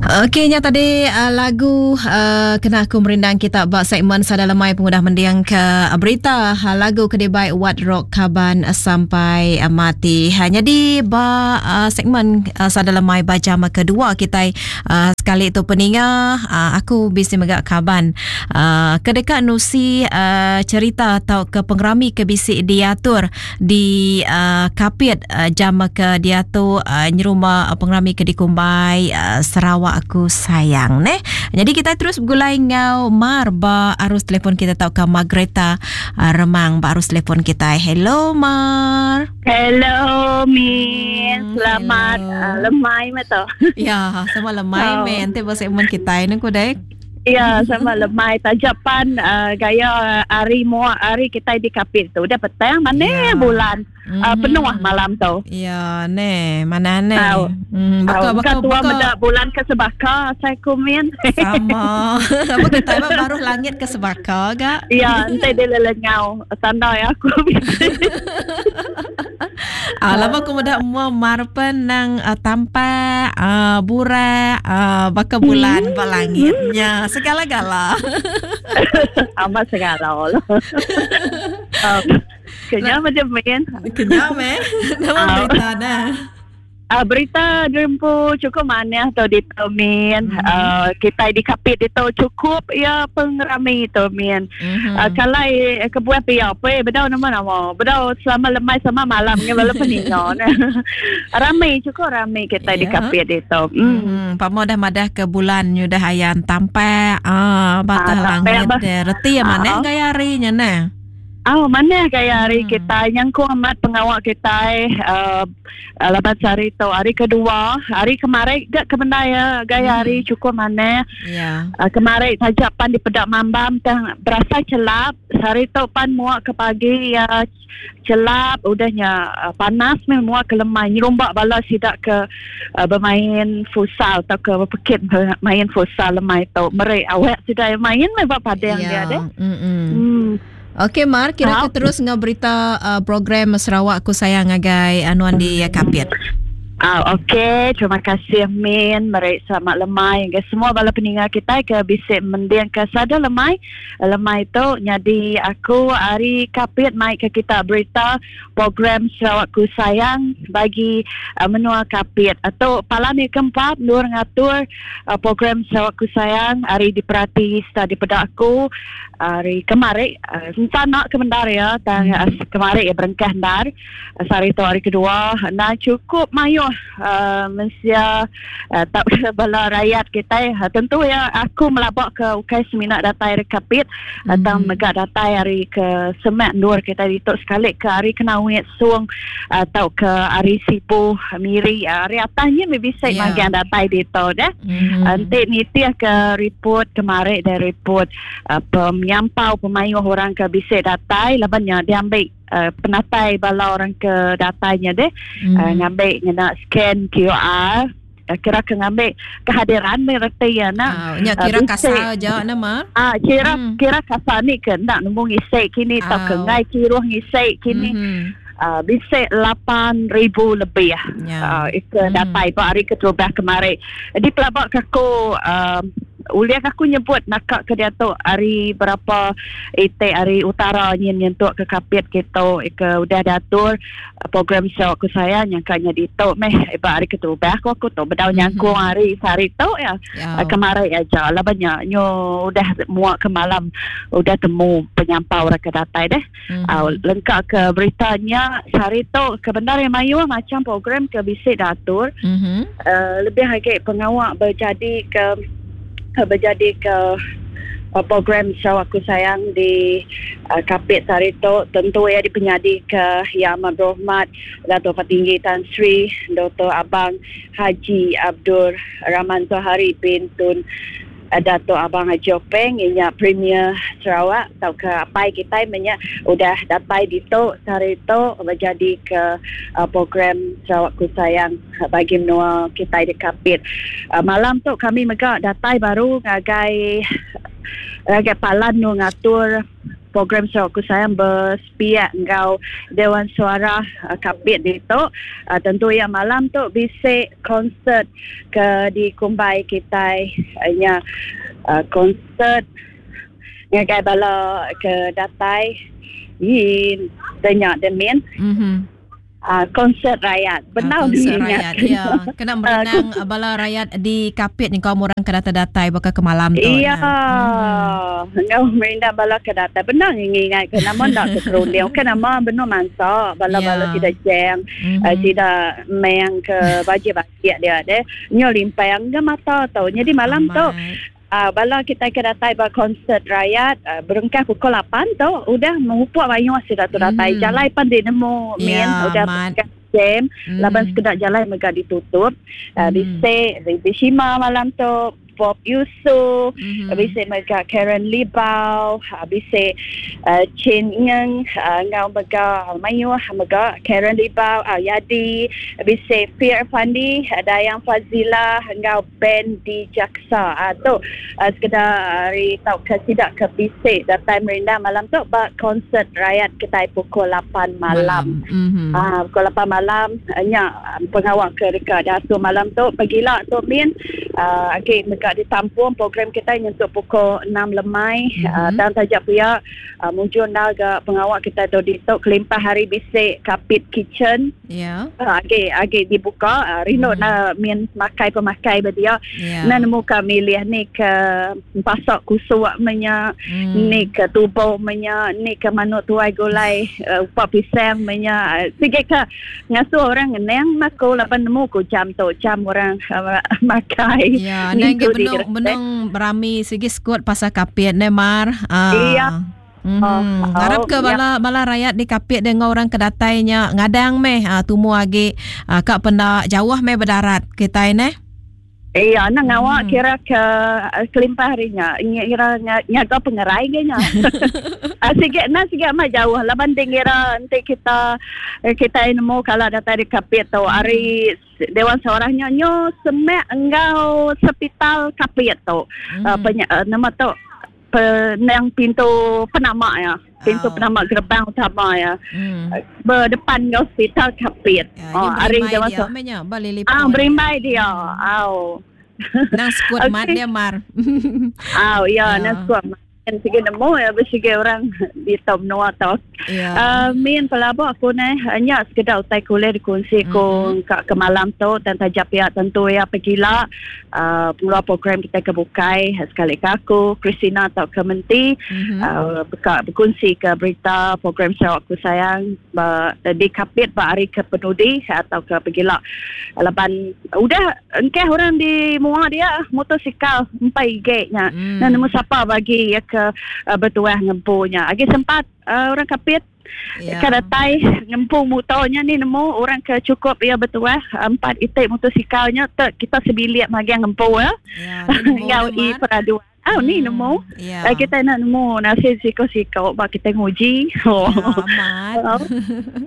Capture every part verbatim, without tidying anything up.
Okey, nya tadi uh, lagu uh, kena aku merindang kita ba segmen Sada Lemai pengudah mendiang ke uh, berita uh, lagu ke dibai What Rock Kaban uh, sampai uh, mati. Ha, jadi ba uh, segmen uh, Sada Lemai ba jam kedua kita uh, sekali tu peninga uh, aku bisi mega kaban uh, ke dekat nusi uh, cerita atau ke pengerami ke bisi diatur di uh, Kapit uh, jam ke diatu uh, nyerumah uh, pengerami ke dikumbai uh, Sarawak Aku Sayang neh. Jadi kita terus bergulai ngau Mar ba arus telefon kita tau ke Margreta uh, Remang ba arus telefon kita. Hello Mar. Hello Min. Hmm, selamat uh, lemai mah tu. Ya, sama lemai oh. Men. Nanti ba segmen kita ini ku dek. Ya, sama lemai tajapan uh, gaya hari muak hari kita di Kapit tu. Udah petang mana ya. Bulan. Mm-hmm. Uh, penuh malam tu. Ya, ne, mana ne? Hmm, baka baka tua baka bulan ke sebaka saya kumin. Sama. Apa kita baru langit ke sebaka gak? Ya, ente dia lelenyau tanda ya aku. Ah, lama aku muda mua marpen nang uh, tampak uh, burak uh, baka bulan hmm. ba langitnya segala-gala. Amat segala lah. um, Kenyang macam main. Kenyang meh. Nama berita dah. Uh, berita jempu cukup mana atau di Min. Mm-hmm. Uh, kita di Kapit itu cukup ya pengerami itu Min. Mm-hmm. Uh, kalau eh, kebuah pia apa bedau nama nama. Bedau selama lemai sama malam ni bala peningan. Ramai cukup ramai kita yeah. di Kapit itu. Mm. Mm-hmm. Pamo dah madah ke bulan nyudah ayan tampak ah batah ah, langit deh. Reti ya mana gaya harinya nah. Oh, mana gaya hari hmm. kita yang ku amat pengawal kita uh, lepas hari tu hari kedua hari kemarin gak kebenda ya gaya hmm. hari cukup mana yeah. uh, kemarin saja pan di Pedak Mambam tang berasa celap hari tu pan muak ke pagi ya celap udahnya uh, panas memang muak ke lemai nyerumbak bala sidak ke uh, bermain futsal atau ke berpekit main futsal lemai tu merek awak sudah main memang padang yeah. dia deh. Hmm. Okey Mar, kira ke terus ngau berita uh, program Sarawak Aku Sayang agai anuan di uh, Kapit. Ah, okey, terima kasih Min, merek selamat lemai ke semua bala peningat kita ke bisik mendiang ke sada lemai. Lemai tu jadi aku hari Kapit mai ke kita berita program Sarawak Ku Sayang bagi uh, menua Kapit atau palan yang keempat nur ngatur uh, program Sarawak Ku Sayang hari diperhati serta dipedak aku hari kemarin uh, nak ke mendar ya tang uh, kemarin ya berengkah ndar uh, hari tu hari kedua nah cukup mayu Uh, mensia uh, tak bala rakyat kita uh, tentu ya aku melabak ke ukai seminak datai dari Kapit mm-hmm. atau megak datai hari ke Semak Nur kita dituk sekali ke hari Kenawit Suang atau ke hari Sipu Miri hari atasnya bisa yeah. magian datai dituk dah mm-hmm. Nanti nitiah ke report kemarin dari report uh, penyampau pemayuh orang ke bisa datai labannya dia ambil Uh, penatai bala orang ke datanya deh mm. uh, ngambil ngena scan Q R uh, kira ke ngambil kehadiran mereti ya nak uh, nya kira uh, kasar aja nama ah kira mm. kira kasar ni ke nak nemu ngisek kini oh. Tau ke ngai kiruh ngisek kini mm-hmm. Uh, bisa lapan ribu lebih yeah. uh, itu mm. datai pak hari keterubah kemarin di pelabak aku uh, uliak aku nyebut nakak ke dia tu hari berapa ite hari utara nyin nyentuk ke Kapit kita ke udah diatur program Sarawak Ku Sayang nyangkanya di tu meh iba hari keterubah aku aku tu bedau nyangkung hari sehari tu ya yeah. Kemarin aja lah banyak nyo udah muak ke malam udah temu penyampau orang ke datai deh mm-hmm. uh, lengkap ke beritanya sehari tu kebenar yang mayu macam program ke bisik diatur mm-hmm. uh, lebih lagi pengawak berjadi ke berjadi ke uh, program Sarawak Ku Sayang di uh, Kapit hari tu tentu ya dipenyadi ke Yang Amat Berhormat Dato' Patinggi Tan Sri Doktor Abang Haji Abdul Rahman Zohari bin Tun uh, Dato' Abang Haji Openg inya Premier Sarawak atau ke apai kita menya udah datai di tu hari tu berjadi ke uh, program Sarawak Ku Sayang bagi menua kita di Kapit. Uh, malam tu kami megak datai baru ngagai Ngagai palan nu ngatur program Sarawakku Sayang bersepiak enggau Dewan Suara uh, Kapit ditu. Uh, tentu ya malam tu bisi konsert ke dikumbai kita uh, nya uh, konsert ngagai bala ke datai yin tanya demin. Mhm. Uh, konsert rakyat. Benar uh, konsert rakyat. Ya, kena merenang uh, bala rakyat di Kapit ni kaum orang ke datai-datai baka ke malam tu. Iya. Hmm. Ngau merindang bala ke datai. Benar ngingat ke nama nak ke kerunding. Kan nama benar mansa bala-bala yeah. Tidak jeng, mm-hmm. uh, tidak meng ke baju-baju dia deh. Nyo limpang ke mata tau. Jadi malam tu Uh, bala kita ke datai ba konsert rakyat uh, berengkah pukul lapan tu udah mengupuk banyak sudah tu datai mm. Jalai pan di nemu min yeah, udah berengkah jam mm. Laban sekedar jalai mega ditutup. Uh, mm. Bisi Ribi Shima malam tu, Bob Yusuf, mm-hmm. bisi mega Karen Libau, bisi uh, Chin Ngeng, uh, ngau mega Mayu mega Karen Libau, uh, Yadi, bisi Fir Fandi, Dayang Fazila ngau Ben di Jaksa. Uh, tu uh, sekedar hari tau ke tidak ke bisi datai merindang malam tu ba konsert rakyat kita pukul lapan malam. Mm-hmm. Uh, pukul lapan malam nya pengawal ke dekat datu malam tu pagila tu min uh, okey mega ditampung program kita nyentuh pukul enam lemai. Mm-hmm. Uh, dan tajak pia uh, muncul naga pengawal kita tu ditok kelimpah hari bisik Kapit Kitchen. Ya. Yeah. Uh, agi agi dibuka uh, rindu mm-hmm. na min makai pemakai berdia. Yeah. Na nemu kami milih ni ke pasak kusuk menya, mm. ni ke tubuh menya, ni ke manuk tuai gulai uh, upak pisang menya. Sikit ke ngasuh orang ngeneng mako lapan nemu ku jam tu jam orang uh, makai. Ya, yeah, nang benung benung berami segi skuad pasal Kapit ne Mar. Ah. Iya. Mm-hmm. Oh, Harap ke bala ya. bala rakyat di Kapit dengan orang kedatainya ngadang meh uh, tumu agi uh, kak pendak jauh meh berdarat kita ne. Iya, nak ngawak hmm. kira ke kelimpah harinya. Kira nyaga pengerai ganya. Sikit nak sikit mah jauh. Laban kira nanti kita kita nemu kalau datang di Kapit tu hari Dewan Seorangnya nyo semek engkau sepital Kapit tu. Hmm. Uh, penya, uh, nama tu penang pintu penamak ya. Pintu oh. penamak gerbang utama ya. Hmm. Berdepan dengan hospital Kapit. Ya, oh, hari Dewan Seorang. Ah, berimbai dia. Au. Nang skuad okay. mat dia Mar. Au, ya, nang skuad mat. Sige nemu ya bersige orang di top noa tau. Ya. Uh, min pelabak aku ni hanya sekedar utai kuliah dikongsi ku mm-hmm. ke, ke malam tu dan tajak pihak tentu ya pergilah uh, pengeluar program kita ke Bukai sekali ke aku Christina atau ke Menti mm-hmm. uh, berka, berkongsi ke berita program Sarawakku Sayang ber, di Kapit ber hari ke Penudi atau ke pergilah laban udah engkeh orang di muar dia motosikal empat gig-nya. Mm. Nah nemu siapa bagi ya ke uh, bertuah ngempunya. Agi sempat uh, orang Kapit yeah. ke datai ngempu motornya ni nemu orang ke cukup ya bertuah empat itik motosikalnya te, kita sebilik magi ngempu ya. Yeah, Ngau i peraduan. Ah hmm, ni nemu. Yeah. Uh, kita nak nemu nasib siko-siko bak kita nguji. Oh. Ya, amat.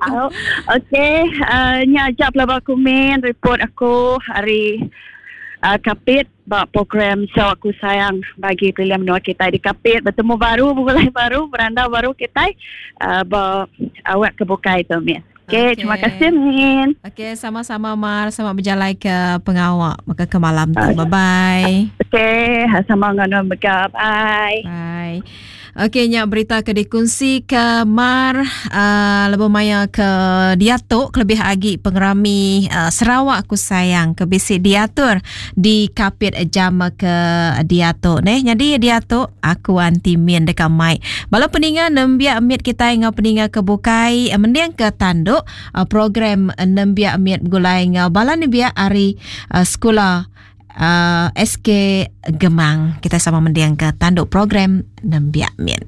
Oh. Okey, uh, nya ajak pelabak kumin report aku hari uh, Kapit bak program Sarawakku Sayang bagi pilihan menua kita di Kapit bertemu baru mulai baru berandau baru kita uh, ba awak kebukai tu Min. Okey, okay. Terima kasih Min. Okey, sama-sama Mar, selamat berjalan ke pengawak maka ke malam tu. Bye bye. Okey, sama dengan Mega. Bye. Bye. Okey, nyak berita ke dikongsi ke Mar uh, lebih maya ke diatuk lebih agi pengerami uh, Sarawak Aku Sayang ke bisi diatur di Kapit jam ke diatuk neh. Jadi diatuk aku anti min dekat mic. Bala peninga nembiak mit kita ngau peninga ke bukai mending ke tanduk uh, program nembiak mit gulai ngau bala nembiak hari uh, sekolah Uh, S K Gemang. Kita sama mendiang ke tanduk program Nembiak Min.